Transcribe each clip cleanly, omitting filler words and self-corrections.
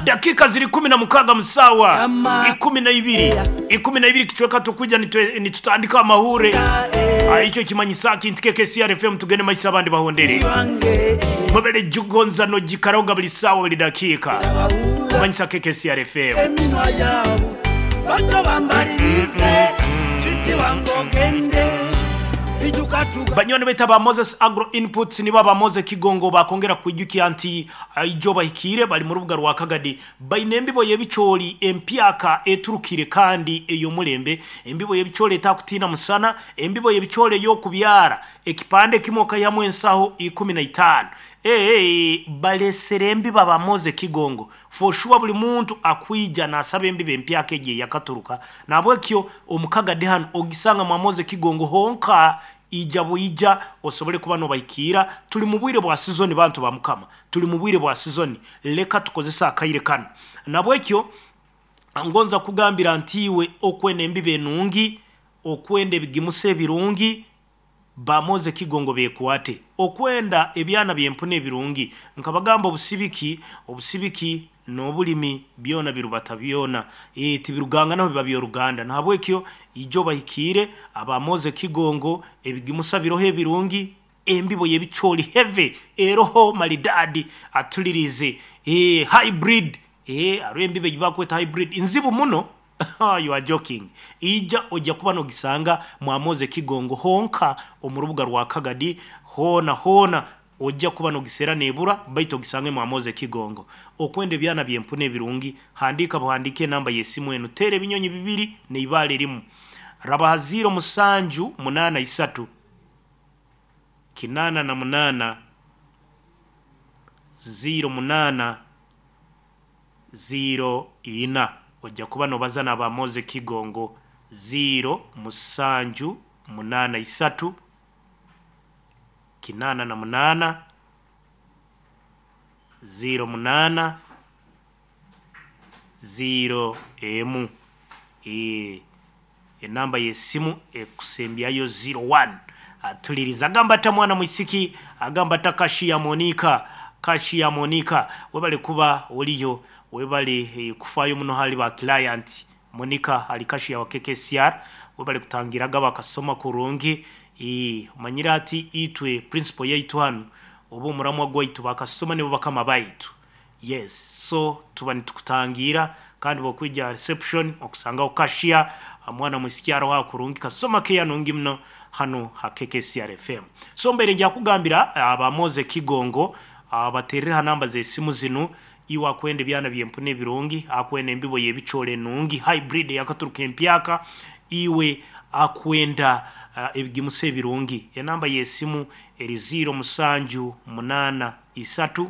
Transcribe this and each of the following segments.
Dakika ziri 16 musawa 12, 12 kicweka tukwija nitutandika amahure. Ekyo kimanyisa ki nti KKCR FM tugende maiso abandi bahondere. Mwebale jugonza nojikaraoga buli saawa buli dakiika. Kumanyisa KKCR FM. Eminwa yaabo bato bambalirize switi wange ogende ijuka tuga. Banywani baitu ba Moses Agro Inputs nibo aba Moses Kigongo bakongera kwijukya nti ijo bahikire bali mu rubuga rwa Kagadi baine embibo y'ebicooli empyaka eturukire kandi ey'omulembe, embibo y'ebicooli etakutina musana, embibo y'ebicooli ey'okubyara ekipande kimwe okaihamu ensaho 15. Balesere embibo aba Moses Kigongo for sure buli muntu akwija nasaba embibo empyaka egi eyakaturuka, nabwekyo omu Kagadi hanu ogisanga mwa Moses Kigongo honka. Ija bwija osobole kuba nobahikiira. Tuli mu bwire bwa sizoni, bantu ba mukama, tuli mu bwire bwa sizoni, leka tukozesa akaire kanu. Nabwekyo ngonza kugambira nti iwe okwenda embibo enungi, okwenda ebigimusa ebirungi, ba Moses Kigongo bekwate, okwenda ebyana by'empuna ebirungi. Nkabagamba obusibiki, obusibiki n'obulimi byona birubata byona, tibiruganganaho biba by'oruganda. Nahabwekyo ijo bahikiire aba Moses Kigongo, ebigimusa biroho ebirungi, embibo y'ebicooli heavy eroho maridadi atulirize, hybrid, hariho embibo ei bakweta hybrid nzibu muno. You are joking. Ija ojja kuba nogisanga mwa Moses Kigongo honka omu rubuga rwa Kagadi, hoona hoona ojja kuba nogiseera nebura, baitu ogisange mwa Moses Kigongo. Okwenda ebyana by'empuna ebirungi, handiika buhandiike enamba y'esimu enu, teera ebinyonyi bibiri neibaale rimu, rabaha 0783 88 08 04, ojja kuba nobaza n'aba Moses Kigongo. 0783 88 08 0 enamba y'esimu ekusembyayo 01. Atuliriza agamba ata mwana mwisiki, agamba ata kashi ya Monica, kashi ya Monica, webale kuba oliyo, webale kufayo muno hali ba client. Monica ali kashi ya KKCR, webale kutangiraga bakasoma kurungi. Omanyire ati itwe principal yaitu hanu oba omuramwa gwaitu bakasoma nibo bakama baitu. Yes, so tuba nitukutangira kandi bwokwija reception okusangaho cashier mwana mwisiki aroho kurungi kasoma keya nungi muno hanu ha KKCR FM. So mbaire nja kugambira aba Moses Kigongo baterere ha namba z'esimu zinu, iwe akwenda ebyana by'empuna ebirungi, akwenda embibo y'ebicooli enungi hybrid eyakaturuka empyaka, iwe akwenda ebigimusa ebirungi. Enamba y'esimu eri 0783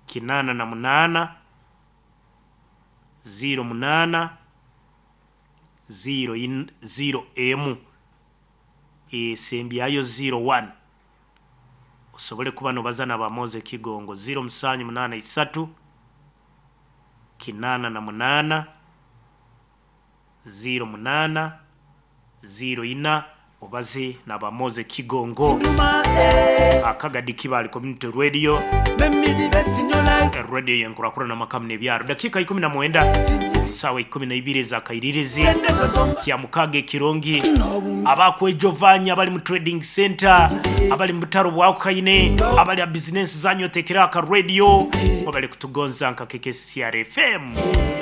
88 08 0 esembyayo 01, osobole kuba nobaza n'aba Moses Kigongo. 0783 88 08 04, obaze n'aba Moses Kigongo. Akagadi Kibali Community Radio, radio yenkurakurana makamu n'ebyaro. Dakika 19 saawa 12 ezakairirizi kya mukaga ekirungi. Abakwejovanya abali mu trading center, abali mu butaro bwakukaine, abali a bizinensi zanyu otekera aka radio, mwebale kutugonza nka KKCR FM.